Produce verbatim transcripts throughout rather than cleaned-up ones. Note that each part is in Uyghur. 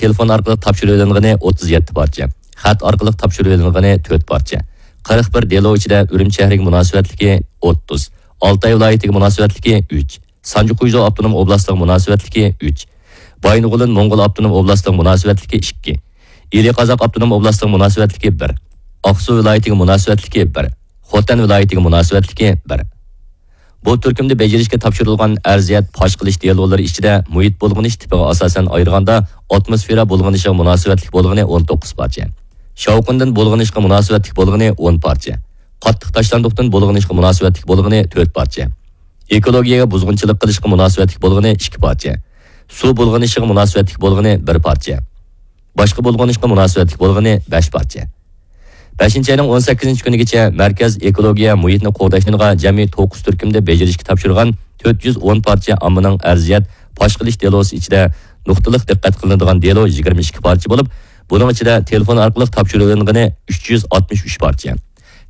تېلېفون ئارقىلىق تاپشۇرۇۋېلىنغىنى ئوتتۇز يەتتە پارچە، خەت ئارقىلىق تاپشۇرۇۋېلىنغىنى تۆت پارچە، قىرىق بىر دېلو ئىچىدە ئۈرۈمچى شەھىرىگە مۇناسىۋەتلىكى ئوتتۇز، ئالتاي ۋىلايىتىگە مۇناسىۋەتلىكى ئۈچ، سانجى قۇيزۇ ئاپتونوم ئوبلاستىغا مۇناسىۋەتلىكى ئۈچ، بايىنغولىن موڭغۇل ئاپتونوم ئوبلاستىغا مۇناسىۋەتلىكى ئىككى، ئىلى قازاق ئاپتونوم ئوبلاستىغا مۇناسىۋەتلىكى بىر، ئاقسۇ ۋىلايىتىگە مۇناسىۋەتلىكى بىر، خوتەن ۋىلايىتىگە مۇناسىۋەتلىكى بىر. بۇ تۈركۈمدە بېجىرىشكە تاپشۇرۇلغان ئەرزىيەت پاش قىلىش دېلولىرى ئىچىدە مۇھىت بۇلغىنىش تىپىغا ئاساسەن ئايرىغاندا، ئاتموسفېرا بۇلغىنىشىغا مۇناسىۋەتلىك بولغىنى ئون توققۇز پارچە، شاۋقۇندىن بۇلغىنىشقا مۇناسىۋەتلىك بولغىنى ئون پارچە، قاتتىق تاشلاندۇقتىن بۇلغىنىشقا مۇناسىۋەتلىك بولغىنى تۆت پارچە، ئېكولوگىيەگە بۇزغۇنچىلىق قىلىشقا مۇناسىۋەتلىك بولغىنى ئىككى پارچە، سۇ بۇلغىنىشىغا مۇناسىۋەتلىك بولغىنى بىر پارچە، باشقا بۇلغىنىشقا مۇناسىۋەتلىك بولغىنى بەش پارچە. بەشىنچى ئاينىڭ ئون سەككىزىنچى كۈنىگىچە مەركەز ئېكولوگىيە مۇھىتنى قوغداشنىڭغا جەمئىي توققۇز تۈركۈمدە بېجىرىشكە تاپشۇرغان تۆت يۈز ئون پارچە ئاممىنىڭ ئەرزىيەت پاش قىلىش دېلوسى ئىچىدە نۇقتىلىق دىققەت قىلىنىدىغان دېلو يىگىرمە ئىككى پارچە بولۇپ، بۇنىڭ ئىچىدە تېلېفون ئارقىلىق تاپشۇرۇۋېلىنغىنى ئۈچ يۈز ئاتمىش ئۈچ پارچە،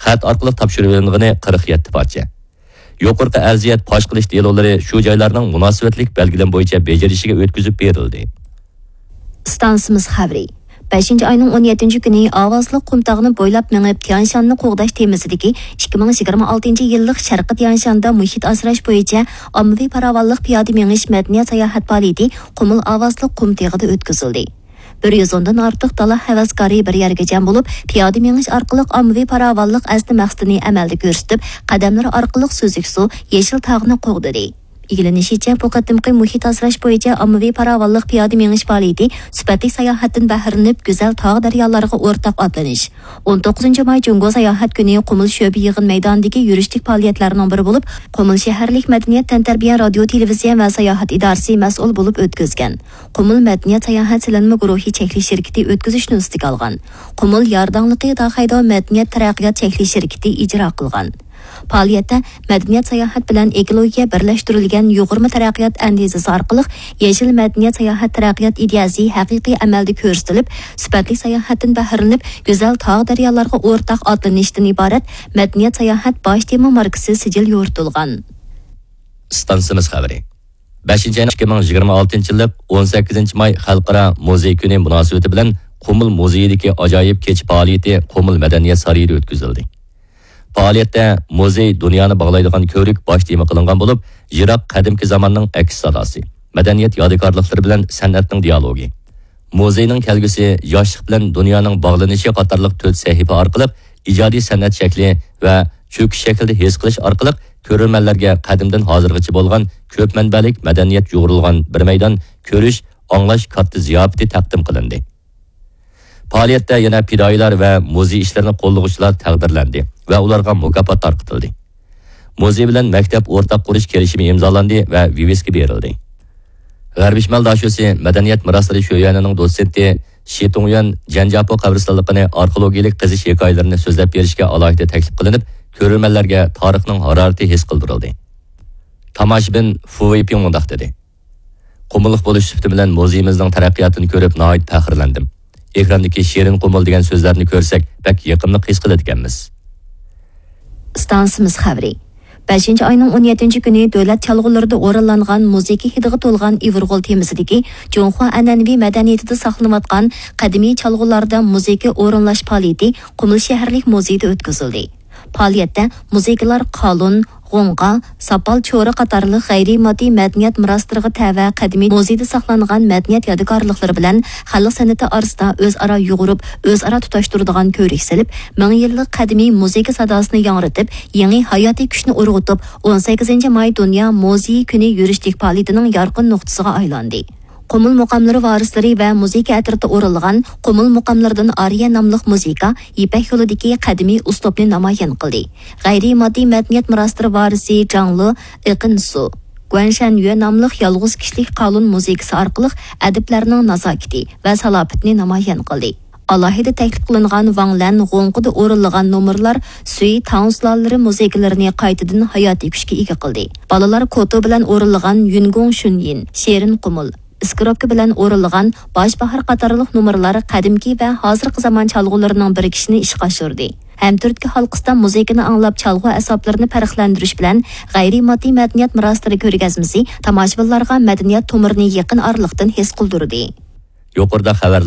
خەت ئارقىلىق تاپشۇرۇۋېلىنغىنى قىرىق يەتتە پارچە. يۇقىرىقى ئەرزىيەت پاش قىلىش دېلولىرى شۇ جايلارنىڭ مۇناسىۋەتلىك بەلگىلىمە بويىچە بېجىرىشىگە ئۆتكۈزۈپ بېرىلدى. ئىستانسىمىز خەۋىرى. بەشىنچى ئاينىڭ ئون يەتتىنچى كۈنى ئاۋازلىق قۇمتاغنى بويلاپ مېڭىپ، تيانشاننى قوغداش تېمىسىدىكى ئىككى مىڭ يىگىرمە ئالتىنچى يىللىق شەرقىي تيانشاندا مۇھىت ئاسراش بويىچە ئاممىۋى پاراۋانلىق پىيادە مېڭىش مەدەنىيەت ساياھەت پائالىيىتى قۇمۇل ئاۋازلىق قۇمتېغىدا ئۆتكۈزۈلدى. بىر يۈز ئوندىن ئارتۇق دالا ھەۋەسكارى بىر يەرگە جەم بولۇپ، پىيادە مېڭىش ئارقىلىق ئاممىۋى پاراۋانلىق ئەسلى مەقسىتىنى ئەمەلدە كۆرسىتىپ، قەدەملىرى ئارقىلىق سۈزۈك سۇ، يېشىل تاغنى قوغدىدى. ئىگىلىنىشىچە، بۇ قېتىمقى مۇھىت ئاسراش بويىچە ئاممىۋى پاراۋانلىق پىيادە مېڭىش پائالىيىتى سۈپەتلىك ساياھەتتىن بەھرىلىنىپ، گۈزەل تاغ دەريالارغا ئورتاق ئاتلىنىش، ئون توققۇزىنچى ماي جۇڭگو ساياھەت كۈنى قۇمۇل شۆبە يىغىن مەيدانىدىكى يۈرۈشلۈك پائالىيەتلەرنىڭ بىرى بولۇپ، قۇمۇل شەھەرلىك مەدەنىيەت تەنتەربىيە رادىيو تېلېۋىزىيە ۋە ساياھەت ئىدارىسى مەسئۇل بولۇپ ئۆتكۈزگەن. قۇمۇل مەدەنىيەت ساياھەت سېلىنما گۇرۇھى چەكلىك شىركىتى ئۆتكۈزۈشنى ئۈستىگە ئالغان. قۇمۇل يارداڭلىقى داخەيداۋ مەدەنىيەت تەرەققىيات چەكلىك شىركىتى ئىجرا قىلغان. پائالىيەتتە مەدەنىيەت ساياھەت بىلەن ئېكولوگىيە بىرلەشتۈرۈلگەن يۇغۇرما تەرەققىيات ئەندىزىسى ئارقىلىق يېشىل مەدەنىيەت ساياھەت تەرەققىيات ئىدىيەسى ھەقىقىي ئەمەلدە كۆرسىتىلىپ، سۈپەتلىك ساياھەتتىن بەھرىلىنىپ، گۈزەل تاغ دەريالارغا ئورتاق ئاتلىنىشتىن ئىبارەت مەدەنىيەت ساياھەت باش تېما ماركىسى سىجىل يورۇتۇلغان. ئىستانسىمىز خەۋىرى. بەشىنچى ئاينىڭ ئىككى مىڭ يىگىرمە ئالتىنچى يىللىق ئون سەككىزىنچى ماي خەلقئارا مۇزېي كۈنى مۇناسىۋىتى بىلەن قۇمۇل مۇزېيىدىكى ئاجايىپ كېچە پائالىيىتى قۇمۇل مەدەنىيەت سارىيىدا ئۆتكۈزۈلدى. پائالىيەتتە مۇزېي دۇنيانى باغلايدىغان كۆۋرۈك باش تېما قىلىنغان بولۇپ، يىراق قەدىمكى زاماننىڭ ئەكس ساداسى، مەدەنىيەت يادىكارلىقلىرى بىلەن سەنئەتنىڭ دىيالوگى، مۇزېينىڭ كەلگۈسى، ياشلىق بىلەن دۇنيانىڭ باغلىنىشى قاتارلىق تۆت سەھىپە ئارقىلىق ئىجادىي سەنئەت شەكلى ۋە چۆكۈش شەكلىدە ھېس قىلىش ئارقىلىق كۆرۈرمەنلەرگە قەدىمدىن ھازىرغىچە بولغان كۆپ مەنبەلىك مەدەنىيەت يۇغۇرۇلغان بىر مەيدان كۆرۈش، ئاڭلاش كاتتا زىياپىتى تەقدىم قىلىندى. پائالىيەتتە يەنە پىدائىيلار ۋە مۇزېي ئىشلىرىنى قوللىغۇچىلار تەقدىرلەندى ۋە ئۇلارغا مۇكاپات تارقىتىلدى. مۇزېي بىلەن مەكتەپ ئورتاق قۇرۇش كېلىشىمى ئىمزالاندى ۋە ۋىۋىسكا بېرىلدى. غەربىي شىمال داشۆسى مەدەنىيەت مىراسلىرى شۆيۈەنىنىڭ دوتسېنتى شى تۇڭيۈەن جەنجياپو قەبرىستانلىقىنى ئارخېئولوگىيەلىك قېزىش ھېكايىلىرىنى سۆزلەپ بېرىشكە ئالاھىدە تەكلىپ قىلىنىپ، كۆرۈرمەنلەرگە تارىخنىڭ ھارارىتى ھېس قىلدۇرۇلدى. تاماشىبىن فۇ ۋېيپىڭ مۇنداق دېدى: قۇمۇللۇق بولۇش سۈپىتى بىلەن مۇزېيىمىزنىڭ تەرەققىياتىنى كۆرۈپ ناھايىتى پەخىرلەندىم. ئېكراندىكى شېرىن قۇمۇل دېگەن سۆزلەرنى كۆرسەك، بەك يېقىملىق ھېس قىلىدىكەنمىز. ئىستانسىمىز خەۋىرى. بەشىنچى ئاينىڭ ئون يەتتىنچى كۈنى دۆلەت چالغۇلىرىدا ئورۇنلانغان مۇزىكا ھىدىغا تولغان ئىۋىرغول تېمىسىدىكى جۇڭخۇا ئەنئەنىۋى مەدەنىيىتىدە ساقلىنىۋاتقان قەدىمىي چالغۇلاردا مۇزىكا ئورۇنلاش پائالىيىتى قۇمۇل شەھەرلىك مۇزېيدا ئۆتكۈزۈلدى. پائالىيەتتە مۇزىكىلار قالۇن، غوڭغا، ساپال چورى قاتارلىق غەيرىي ماددىي مەدەنىيەت مىراسلىرىغا تەۋە قەدىمىي مۇزېيدا ساقلانغان مەدەنىيەت يادىكارلىقلىرى بىلەن خەلق سەنئىتى ئارىسىدا ئۆزئارا يۇغۇرۇپ، ئۆزئارا تۇتاشتۇرىدىغان كۆۋرۈك سېلىپ، مىڭ يىللىق قەدىمىي مۇزىكا ساداسىنى ياڭرىتىپ، يېڭى ھاياتىي كۈچنى ئۇرغۇتۇپ، ئون سەككىزىنچى ماي دۇنيا مۇزېي كۈنى يۈرۈشلۈك پائالىيىتىنىڭ يارقىن نۇقتىسىغا ئايلاندى. قۇمۇل مۇقاملىرى ۋارىسلىرى ۋە مۇزىكا ئەترىتى ئورۇنلىغان قۇمۇل مۇقاملىرىدىن ئارىيە ناملىق مۇزىكا يىپەك يولىدىكى قەدىمىي ئۇسلۇبنى نامايان قىلدى. غەيرىي ماددىي مەدەنىيەت مىراسلىرى ۋارىسى جاڭلى ئېقىن سۇ، گۇەنشەنيۈە ناملىق يالغۇز كىشىلىك قالۇن مۇزىكىسى ئارقىلىق ئەدىبلەرنىڭ نازاكىتى ۋە سالاپىتىنى نامايان قىلدى. ئالاھىدە تەكلىپ قىلىنغان ۋاڭ لەن غوڭقىدا ئورۇنلىغان نومۇرلار سۈي تاڭ سۇلالىلىرى مۇزىكىلىرىنى قايتىدىن ھاياتىي كۈچكە ئىگە قىلدى. بالىلار كوتو بىلەن ئورۇنلىغان يۈنگوڭ شۈنيىن، شېرىن قۇمۇل، ئىسكىروپكا بىلەن ئورۇنلىغان باش باھار قاتارلىق نومۇرلار قەدىمكى ۋە ھازىرقى زامان چالغۇلىرىنىڭ بىرىكىشىنى ئىشقا ئاشۇردى. ھەم تۈرتكە ھالقىسىدا مۇزىكىنى ئاڭلاپ چالغۇ ئەسۋابلىرىنى پەرقلەندۈرۈش بىلەن غەيرىي ماددىي مەدەنىيەت مىراسلىرى كۆرگەزمىسى تاماشىبىنلارغا مەدەنىيەت تومۇرىنى يېقىن ئارىلىقتىن ھېس قىلدۇردى. يۇقىرىدا خەۋەر